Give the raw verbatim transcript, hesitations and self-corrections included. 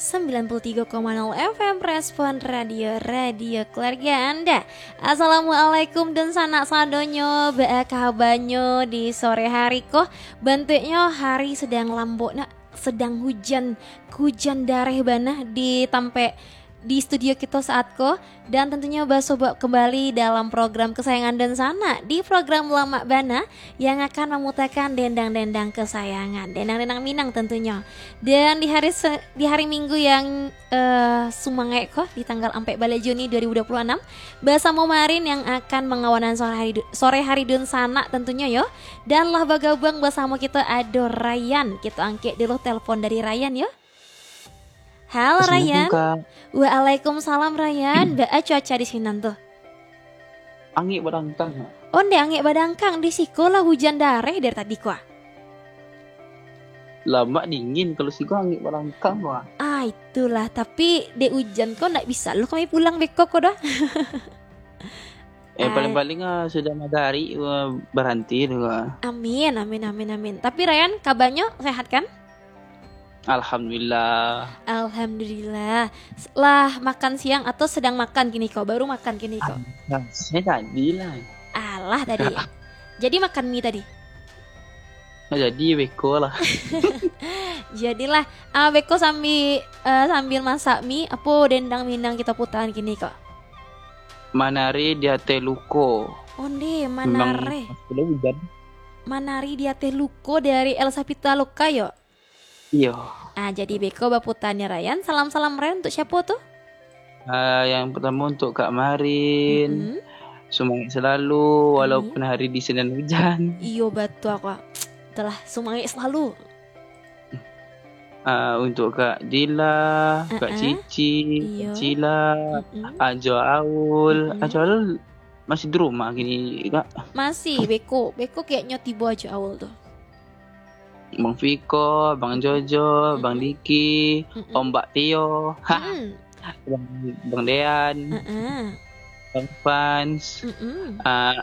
sembilan puluh tiga koma nol F M Respon Radio, radio keluarga Anda. Assalamualaikum dunsanak sadonyo, baa kabanyo di sore hari ko? Bantuaknyo hari sedang lambok nak, sedang hujan, hujan dareh bana di tampek di studio kito saat ko. Dan tentunyo basobok kembali dalam program kesayangan dunsanak, di program Lamak Bana yang akan mamutakan dendang-dendang kesayangan, dendang-dendang Minang tentunyo. Dan di hari se-, di hari Minggu yang, eh, sumangaik ko, di tanggal ampek baleh Juni dua ribu dua puluh anam, basamo Marin yang akan mangawanan sore hari du-, sore hari dunsanak tentunyo yo. Dan lah bagabuang basamo kito ado Rayan. Kito angkek dulu telepon dari Rayan yo. Halo, Rayan. Assalamualaikum, Kak. Waalaikumsalam, Rayan. Baa cuaca di sinan tu? Angek badangkang, Kak. Onde angek badangkang, di siko lah hujan dareh dari tadi ko ah. Lamak dingin, kalau siko angek badangkang ko ah. Ah, itulah. Tapi dek ujan ko ndak bisa lo kami pulang beko ko doh. Eh, paling-paling ah, sudah matahari, ah, baranti tu ko ah. Amin, amin, amin, amin. Tapi Rayan, kabanyo sehat kan? Alhamdulillah. Alhamdulillah. S-, lah makan siang atau sedang makan kini ko? Baru makan kini ko? Ah, saya tadi lah. Alah tadi. Jadi makan mi tadi? Nah, jadi beko lah. Jadilah. Ah, beko sambil, eh, sambil masak mi, apo dendang Minang kito putakan kini ko? Manari di ateh luko. Onde, Memang manare. Sudah hujan. Manari di ateh luko dari Elsa Pitaloka yo? Iyo. Ah, jadi beko baputanya Rayan. Salam-salam Rayan untuk siapo tu? Ah, yang pertama untuk Kak Marin. Mm-mm. Semangat selalu walaupun hari di sinan hujan. Iyo, batua ko ah. Itulah, semangat selalu. Ah, untuk Kak Dila, Kak Ah-ah. Cici, Iyo. Kak Cila, Mm-mm. Ajo Aul. Mm-mm. Ajo Aul masih di rumah kini, Kak? Masih, beko. Beko kayaknyo tibo Ajo Aul tu. Bang Fiko, Bang Jojo, Bang Mm-mm. Diki, Mm-mm. Ombak Tio, ha, Mm-mm. Bang, Bang Dean, Heeh. Bang Fans, Mm-mm. ah,